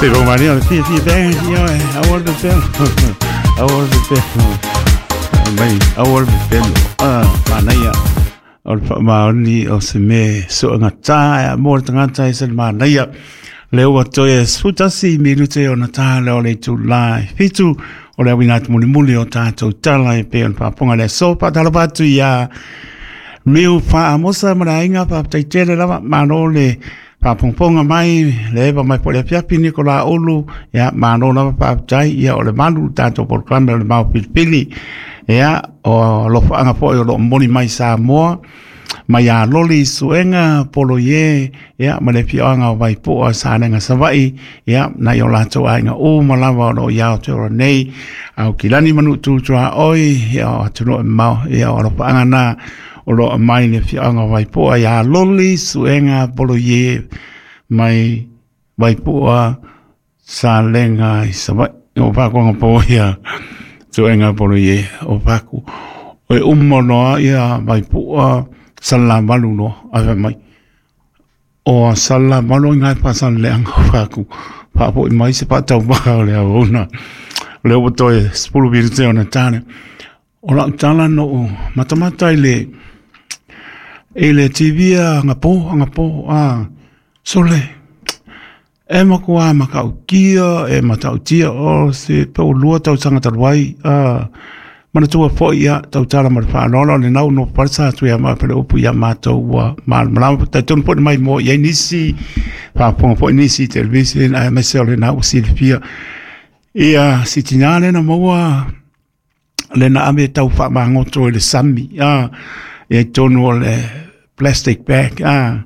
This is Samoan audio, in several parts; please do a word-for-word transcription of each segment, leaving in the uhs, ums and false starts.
Se vou mania le fia fia bem ia aua le pepelo aua le pepelo mai aua le pepelo a manaia o le faamaoni o se mea soagatā mo le tagata e se le manaia le ua toe sefutasi minute ona tā lea o le itulā e fitu o le auina atu mulimuli o tatou tala e pei ona faafofoga le aso. Faatalofa atu iā Miu Faamosa ma le aiga, faafetai tele lava, malo le faafogafoga mai le eva mai foi le afiafi Nikola Ulu, ia malo lava faafetai, ia o le malu le tatou polokalame o le Mao Filifili, ia o alofaaga foi o loo momoli mai Samoa mai ia Loli Suega Poloie, ia ma le afioaga o Vaipoa Salega Savaii, ia nai o latou aiga uma lava o loo i Aotearoa nei, Aukilani ma Nuutu Tuaoi, ia o atunuu e mamao, ia o alofaaga na o loo aumai le afioaga o Vaipoa ia Loli Suega Poloie mai Vaipoa Salega i Savaii. O Pakuanga po ia Suega Poloie o Paku o e uma loa ia Vaipoa Salamalu loa ae fai mai o Salamalu i ngai pasaleleaga o Paku faapoi mai se faatauvaa o le auauna o lea ua toe sefulu minute ona tale. O lau tala na ou matamata i le i le T V agapo agapo a sole e makuā matautia e matautia o se pe ua lua tausaga talu ai a manatua foi ia tautala ma le faaaloalo o lenau no palesa atu ia ma pele upu ia matou ua malamalama talitonu foi mai mo i ai nisi faafofoga foi nisi television aemaise o lenau ua silafia ia si tinā lena maua lena ave tau faamagoto i le sami a ia i tonu o le plastic bag a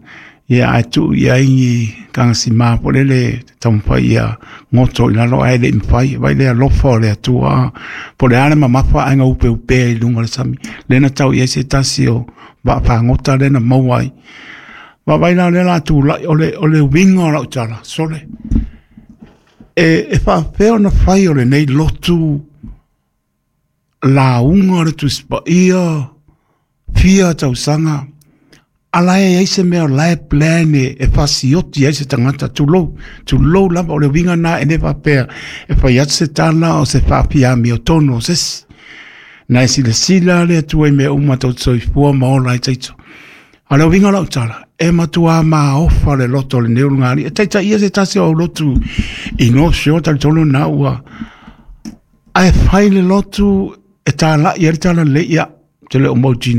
ia ae tuu i ai ni kagasima po lele taumafai ia goto i lalo ae le i mafai vai le alofa o le Atua po le a le mamafa ae gaupeupea i luga o le sami lena tau i ai se tasi o vaafagota lena maua ai vaavaai la o lea la tulai o le o le uiga o lau tala sole e e faapefea ona fai o lenei lotu lauga o le Tusi Paia fia tausaga ala e ai se mea o lae plan e, e fasioti ai se tagata tulou tulou lava o le uiga na e le faapea e fai atu se tala o se faafiami o tonu o sesi na e silasila le Atua i mea uma tou te soifua ma ola ai taito. A o le uiga o lau tala e matua maofa le loto o lenei ulugalii e taitaia se tasi o au lotu i North Shore talitonu na ua ae fai le lotu e tālai ai le talalelei ia te le o mautinoa.